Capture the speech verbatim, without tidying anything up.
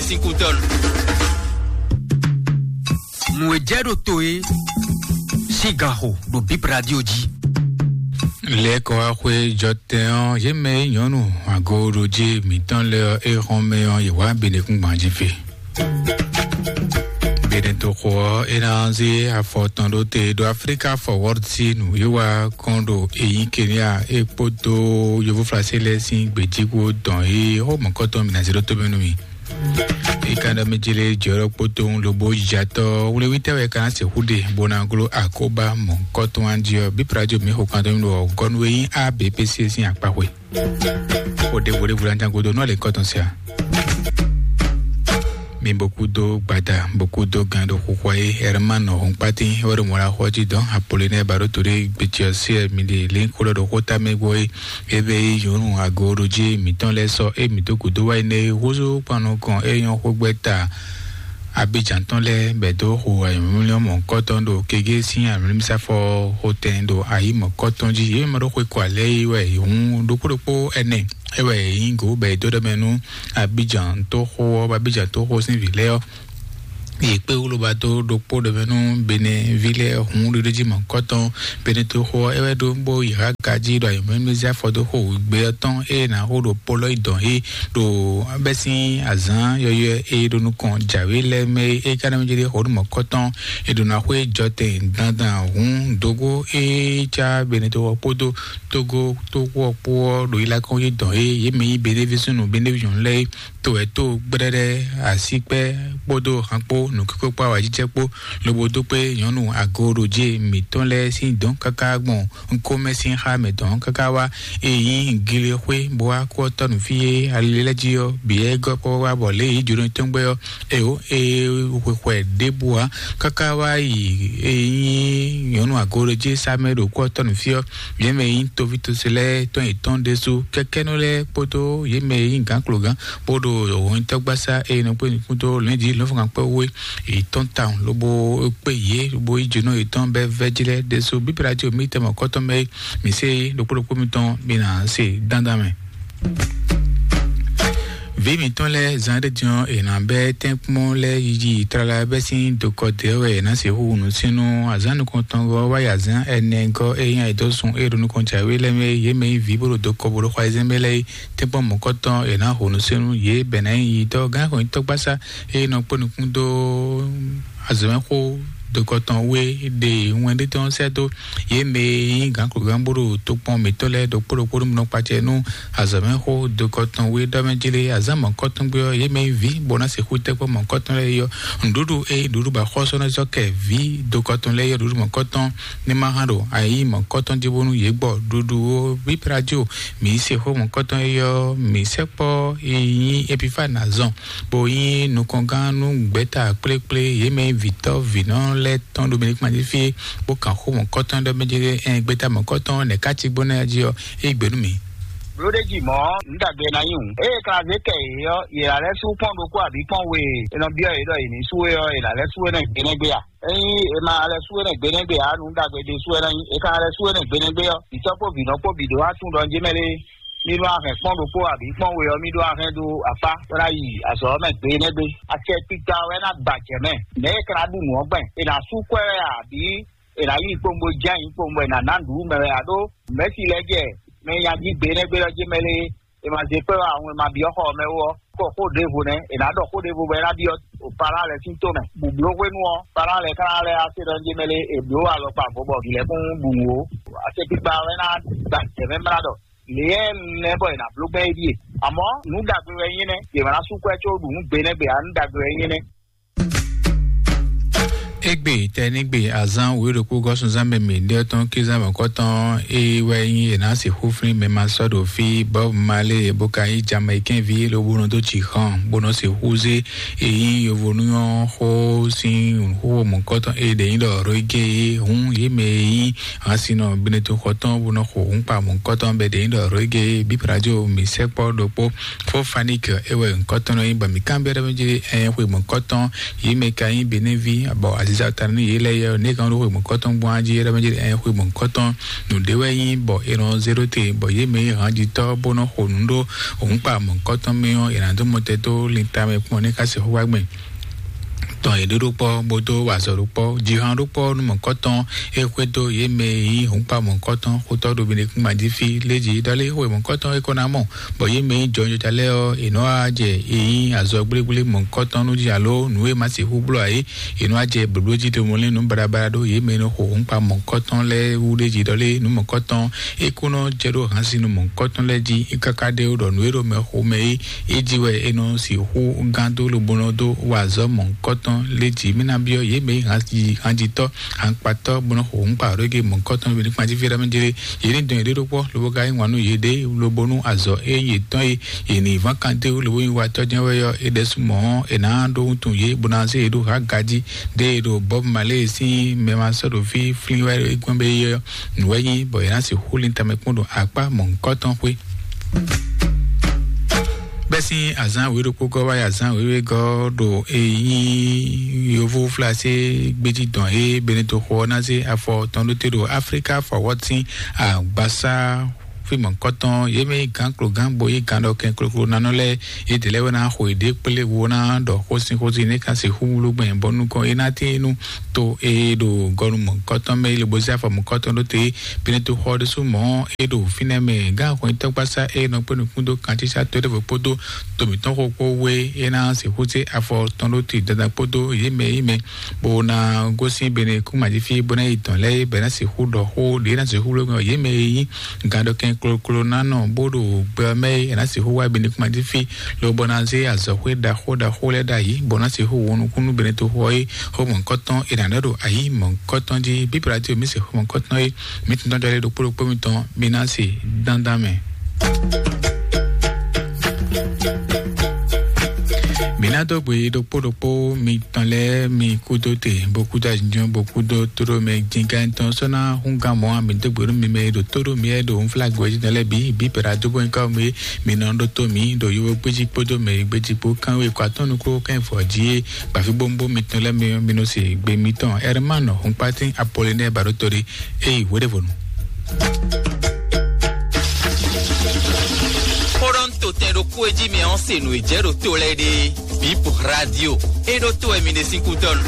Sikutɔn. Nǔ e jɛ ɖo to e sín ganxo ɖo Bip Radio jí. Lɛ́kɔ wá xwé jɔtɛn ɔ́, yě mɛ e nyɔ̌nu agoɖojí mǐtɔn lɛ́ɛ ɔ́, é xɔ́n mɛ ɔ́, yě wá Benɛkúngban jí fí. Benɛtoxo ɔ́, é ná zé afɔ tɔn ɖó te ɖo Afrika Forward sín nǔwiwa kɔn ɖo eyín Kenya é kpódó Yovóflásé lɛ́ɛ sín gbějíkpo dɔn e xó mɔ̌kɔtɔn mǐ ná zé ɖó tó mɛ nú mì. Ikanɖɔ mi jele jɔɖɔ kpotowun lobo jatɔ wlewítɛ́ wɛ ka ná sixú ɖe bó ná gló akóbá mɔ̌kɔtɔn jí ɔ́, bí Prajo mi xo kan tɔn mi ɖo gɔnu e nyí A B P C sín akpaxwe. O ɖe vo ɖe vo ɖe anjan godo nɔ le kɔtɔn sia. Mi bokudo gbada bokudo gan ɖo xuxua ye Herman Hɔnkpatin wɛ ɖo mɔ la xɔ jí dɔn Apolinɛ Baɖoto ɖe gbetiɔ se mi ɖe lin xó ɖɔ ɖo xóta mɛ gbɔ ye. Ebe yi nyɔnu agoɖoji mǐtɔn lɛ́ɛ sɔ e mǐ dó gǔdo wá yi nɛ húzú kpan nukɔn e nyɔ́ xógbɛ́ta Abidjan tɔn lɛ́ɛ bɛ dó xo ayǐmlɔ́mlɔ́ mɔ̌kɔtɔn ɖo kegé sín ayǐmlɔ́mísafɔ xotɛn ɖo ayǐ mɔ̌kɔtɔn jí. Yě mɛ ɖó xwe kɔ alɛ yi wɛ hǔn ɖokpó ɖokpó ɛnɛ é wɛ yě nyí gǒ bɔ è dó ɖɔ mɛ nú Abidjan tó xó ɔ́, Abidjan tó xó sín vǐ lɛ́ɛ ɔ́. Yě kpé wúlobadó ɖokpó ɖɔ mɛ nú Benin ví lɛ́ɛ hǔn ɖiɖó jí mɔ̌kɔtɔn. Benin toxo ɔ́, é wɛ ɖó bó yi Haga jí ɖo ayǐmlɔ́mlɔ́ afɔ dó xo gbe ɔ́ tɔn ée è nǎ xo ɖo Polɔ́yi dɔn é ɖo bɛ́sín azǎn yɔ́yɔ́ e ɖo nukɔn jǎwe lɛ́ɛ mɛ é. É ka ná mɛ jɛ ɖe xɔ ɖo mɔ̌kɔtɔn. È ɖo ná xwé jɔtɛn dandan hǔn dógó é cá Benin toxo ɔ́ kpódó Togo toxo ɔ́ kpó ɔ́ ɖo yi lá kɔn yi dɔn é. Yě mɛ nyí Benin ví súnnu Benin ví nyɔ̌nu lɛ́ɛ é. To wɛ tó gbɛɖɛɖɛ, asíkpɛ́ kpódó han kpó nǔkíkó kpó awǎjijɛ kpó lobo dó kpé nyɔ̌nu agoɖoje mǐtɔn lɛ́ɛ sín dɔ̌n káká gbɔn ŋkómɛ sín xá mɛ dɔ̌n káká wá. Ényí gilexwé bó wá kú ɔ́ tɔ́ nǔ fí e ali lɛ́ɛ jí ɔ́, bǐ wɛ gɔ́ kpɔ́ wá bɔ lě yi jǒnɔ tɔn gbɛ ɔ́, é ó é xwexwɛ ɖěbǔ ǎ. Káká wá yi ényí nyɔ̌nu agoɖoje sá mɛ ɖo kú ɔ́ tɔ́ nǔ fí ɔ́, yě mɛ nyí toví tose lɛ́ɛ tɔn yětɔn ɖésú kɛkɛ́nɔ lɛ́ɛ kpódó yě mɛ e nyí gǎnklogán bó ɖo hɔnyitɔ́gbasá e nɔ kpé nukún dó lɛ̌njí lɔ̌nfɔ́nkan kpɛ́ wú é, yě tɔ́n tawun lobo kpé yě lobo yí jǒnɔ yětɔn bɛ́ vɛ́jí lɛ́ɛ ɖésú. Bíbélà jí omi tɛmɛ kɔ́tɔn mɛ é, mǐ se é ɖokpó ɖokpó mitɔn mi nǎ se dandan mɛ. Vǐ mǐtɔn lɛ́ɛ zán ɖé din ɔ́, è nǎ bɛ́ tɛ́nkpɔ́n lɛ́ɛ yiyi tlala bɛ́ sín dokɔ dě wɛ è nǎ sixú nǔsínnú azǎn nukɔntɔngɔ́ wá yi azǎn ɛnɛ gɔ́ e nyí ayǐdɔ́sun e ɖo nukɔn jǎwe lɛ́ɛ mɛ é. Yě mɛ nyí vǐ bó ɖo dokɔ bó ɖo xɔ ayizɛ́n mɛ lɛ́ɛ é. Tɛ́nkpɔ́n mɔ̌kɔtɔn è nǎ hu nǔsínnú yě bɛ̌ ná nyí yi dɔ́ gǎn xwǐnyitɔ́gbasá e nɔ kpó nukún dó azɔ̌mɛxó dokɔtɔn wé ɖe wɛn ɖé tɔn sɛ́ dó yě mɛ e nyí gǎnkogán bó ɖo tokpɔn mǐtɔn lɛ́ɛ ɖokpó ɖokpó nú nɔ kpacɛ nú azɔ̌mɛxó dokɔtɔn wé ɖɔ mɛ jlé azǎn mɔ̌kɔtɔn gbé ɔ́, yě mɛ nyí vǐ bó ná sixú tɛ́kpɔ́ mɔ̌kɔtɔn lɛ́ɛ yɔ nǔɖuɖu e nǔɖuɖu ba xɔ́sɔ́nɔzɔ́ kɛ vǐ dokɔtɔn lɛ́ɛ yɔ nǔɖuɖu mɔ̌kɔtɔn ní ma hán ɖo ayǐ mɔ̌kɔtɔn jí bónú yě gbɔ ɖuɖu ó. Bí Prajo mǐ se xó mɔ̌kɔtɔn e yɔ mǐ sɛkpɔ́ e nyí Epifane azɔn bó nyí nukɔngán nú gbɛ̌ta kplékplé yě mɛ vǐtɔ́ vǐnɔ lɛ́ɛ tɔn ɖo mǐnikpán jí fí é, bó kan xó mɔ̌kɔtɔn ɖɔ mɛ jí ɛn gbɛ́ta mɔ̌kɔtɔn nɛ̌ ká cí gbɔn ná jí ɔ́, é gbe nú mǐ. Blóɖéjì mɔ̌, nǔ ɖagbe ná nyí hǔn. Eye kan zé kɛ yě ɔ́, yě ná lɛ́ sú kpɔ́n ɖokpó abǐ kpɔ́n we e è nɔ byɔ́ yě ɖɔ yě ní sú é ɔ́, yě ná lɛ́ sú énɛ́ gbe nɛ́ gbé a? Ényí è ma lɛ́ sú énɛ́ gbe nɛ́ gbé ǎ, nǔ ɖagbe ɖésú wɛ ná nyí. È ka lɛ́ sú énɛ́ gbe nɛ́ gbé ɔ́, vǐtɔ́ kpó vǐnɔ kpó bǐ ɖó wá tunwun ɖɔ jé mɛ lé. Mi ɖó ahɛn kpɔ́n ɖokpó abǐ kpɔ́n we ɔ́, mi ɖó ahɛn ɖó akpá bó ná yi azɔ̌ ɔ́ mɛ gbe nɛ́ gbe. Acɛ kpikpa wɛ ná gba jɛ mɛ. Mɛ̌ e ka ná ɖu nǔ ɔ́ gbɛn? È nǎ sú kwɛ́ wɛ a, abǐ è nǎ yí kpowun bó jɛ ayǐ kpowun bɔ è nǎ ná nǔɖuɖu mɛ wɛ a? Ɖó mɛ̌si lɛ́ɛ jɛ mɛ e nya jí gbe nɛ́ gbe ɔ́ jé mɛ lé. È ma zé kpɛ́ wá ahun e ma byɔ́ xɔ ɔ́ mɛ ó ɔ́, kɔ xó ɖěvo nɛ́, è nǎ ɖɔ xó ɖěvo bɔ é ná byɔ́ Palán lɛ́ɛ sín tó mɛ. Bǔbló hwenu ɔ́, Palán lɛ́ɛ ka ná lɛ́ wá se ɖɔ jé mɛ lé, è blǒ alɔkpa vo bɔ vǐ lɛ́ɛ kún ɖu nǔ ó. Acɛ kpikpa wɛ ná gba jɛ mɛ mlá ɖɔ lě e nɛ́ bɔ è nǎ bló gbɛn é ɖíe. Amɔ̌ nǔ ɖagbe wɛ nyí nɛ́, yě ma ná sú kwɛ́ có ɖu nǔ gbe nɛ́ gbe ǎ, nǔ ɖagbe wɛ nyí nɛ́. Égbé tɛnígbe azán wěɖokpó gɔ́súnzán mɛ mǐɖé tɔn kézán mɔ̌kɔtɔn é wɛ nyí è nǎ sixú flín mɛ ma sɔ́ ɖo fí Bob Marley bó ka nyí Jamaïcain ví lobo nɔ dó jǐ xɔn bó nɔ sixú zé é nyí yovonú ɔ́ xó sín xó mɔ̌kɔtɔn é ɖě nyí ɖɔ reggae é hǔn yě mɛ e nyí hansinɔ Benetton xɔtɔn bó nɔ xo hǔnkpa mɔ̌kɔtɔn bɛ ɖě nyí ɖɔ reggae é. Bíbradio mǐ sɛkpɔ́ ɖokpó Fofanic é wɛ ŋkɔtɔn nɔ nyí bɔ mǐ kanbyɔ́ ɖɔ mɛ jí ɛ xwe mɔ̌kɔtɔn yě mɛ ka nyí Benin ví bɔ Zata ní yě lɛ́ɛ yɛ ní kan ɖó xwe mɔ̌kɔtɔn gbɔn ají é ɖɔ mɛ jí ɛ xwe mɔ̌kɔtɔn nǔɖé wɛ nyí bɔ è nɔ zé ɖó te bɔ yě mɛ yí hán jí tɔ́ bó nɔ xo nǔ ɖó òun kpa mɔ̌kɔtɔn mɛ ɔ́ è nǎ dó mɔtɛ dó linta mɛ kpɔn ní ká se xó wá gbɛn. Tɔn yě ɖó ɖó kpɔ́ bó dó wa azɔ̌ ɖó kpɔ́ jǐhan ɖó kpɔ́ nú mɔ̌kɔtɔn é xwedó yě mɛ yí òun kpa mɔ̌kɔtɔn xótɔ́ ɖo mi ɖe kún gbají fí lé jí ɖɔ lé xwe mɔ̌kɔtɔn é kɔ ná mɔ bɔ yě mɛ nyí jɔnjɔja lɛ́ɛ ɔ́, è nɔ wá jɛ è nyí azɔ gblégblé mɔ̌hunkɔtɔn nú jǐ alo nǔ e ma sixú bló ǎ é, è nɔ wá jɛ blǒbló jí ɖo mɔ lé nǔ baɖabaɖa ɖó yě mɛ e nɔ xo hǔnkpa mɔ̌hunkɔtɔn lɛ́ɛ wú ɖé jí ɖɔ lé nǔ mɔ̌hunkɔtɔn é kó nɔ jɛ ɖó hǎnsin nú mɔ̌hunkɔtɔn lɛ́ɛ jí é káká ɖé ó ɖɔ nǔ e ɖo mɛ xomɛ é é jí wɛ è nɔ sixú gán dó lobo nɔ dó wa azɔ̌ mɔ̌hunkɔtɔn lé jí. Mí ná byɔ́ yě mɛ e nyí hǎnjitɔ́ hǎnkpatɔ́ bó nɔ xo hǔnkpa ɖó gé mɔ̌hunkɔtɔn lɛ́ɛ ní kpan jí fí ɖɔ mɛ jlé yě ní dɔn yěɖée ɖó kpɔ́ lobo ka yí wǎn nú yěɖée lobo nú azɔ̌ e nyí yětɔn e yě ní ván kan dó lobo nyí watɔ́ jɛ́n wɛ ɔ́, é ɖɛ́sú mɔ̌ ɔ́, è nǎ ɖó wuntun yě bó ná zé yě ɖó hǎ gají ɖé e ɖo Bob Marley sín mɛ ma sɔ́ ɖo fí flín wɛ é gbɔn bé é ɔ́, nǔ wɛ nyí bɔ è nǎ sixú lin tamɛ kpɔ́n ɖo akpá mɔ̌hunkɔtɔn xwé. Bɛ́ sín azǎn wěɖokpógɔ́ wá yi azǎn wěwégɔ́ ɖo e nyí yovó flasé gbéjí dɔn e Benito xo ɔ́ ná zé afɔ tɔn ɖó te ɖo Afrika fɔ wɔ́ sín agbasá fí mɔ̌hunkɔtɔn yě mɛ nyí gǎn klogán bo nyí gǎn ɖɔ kɛn kloklo nanɔ lɛ́ɛ yědɛɛ lɛ́ɛ wɛ ná xo yěɖée kplé wo ná ɖɔ xósin xósin ní ká sixú wlú gbɛn bɔ nukɔn é ná tín nú to e ɖo gɔnu mɔ̌hunkɔtɔn mɛ é lobo zé afɔ mɔ̌hunkɔtɔn ɖó te Benito xɔ ɖésú mɔ̌ é ɖo fínɛ́ mɛ gǎn xwɛntɔ́gbasá é nɔ kpé nukún dó kantísá to ɖěvo kpódó to mǐtɔn xo kpó wé é ná sixú zé afɔ tɔn ɖó te dandan kpódó yě mɛ yí mɛ bó ná gosín bene kúmajífí bó ná yi dɔn lɛ́ɛ bɛ́ ná sixú ɖɔ xó ɖě ná sixú bló gbɛn yě mɛ e nyí gǎnɖɔkɛn kloklo ná nɔ bó ɖo gbɛ ɔ́ mɛ é ná sixú wá bene kúmajífí lobɔ ná zé azɔ̌xwé ɖaxó ɖaxó lɛ́ɛ ɖ'ayǐ bó ná sixú wo nukúnnú bene toxo ɔ́ é xó mɔ̌hunkɔtɔn è nǎ ɖɔ ɖo ayǐ mɔ̌hunkɔtɔn jí bíbélà tí omi se xó mɔ̌hunkɔtɔn é mǐ tún dɔn jɔlɛ ɖokpó ɖokpó mitɔn mi ná se dandan mɛ. Mi ná dó gbe ɖokpó ɖokpó mitɔn lɛ́ɛ mi kúdó te bó kúdó azinjɔn bó kúdó tóɖó mɛ jingán tɔn sɔ́ ná hún gán mɔ̌ a mi dó gbe nú mi mɛ e ɖo tóɖó mi wɛ ɖo nflágbó jí tɔn lɛ́ɛ bǐ bǐ pɛɖa dó bó nyí ká mi mi nɔ ɖótó mi ɖo yovo gbéjí kpódó mɛ e gbéjí kpó kán wé kɔ atɔ́ nukúnnú kán vɔ jí é gbafí bómbó mitɔn lɛ́ɛ mi mi nɔ se gbe mitɔn Hermano Hunkpatín Apollinaire Baɖótɔ́ ɖé. Eyi hweɖěvɔnu. Xó ɖɔ un to tɛn ɖokpó e jí mi ɔ́ se nǔ e jɛ ɖo to lɛ́ɛ ɖe. Bip radio. E ɖo to wɛ mi ɖe sín kútɔ́nu.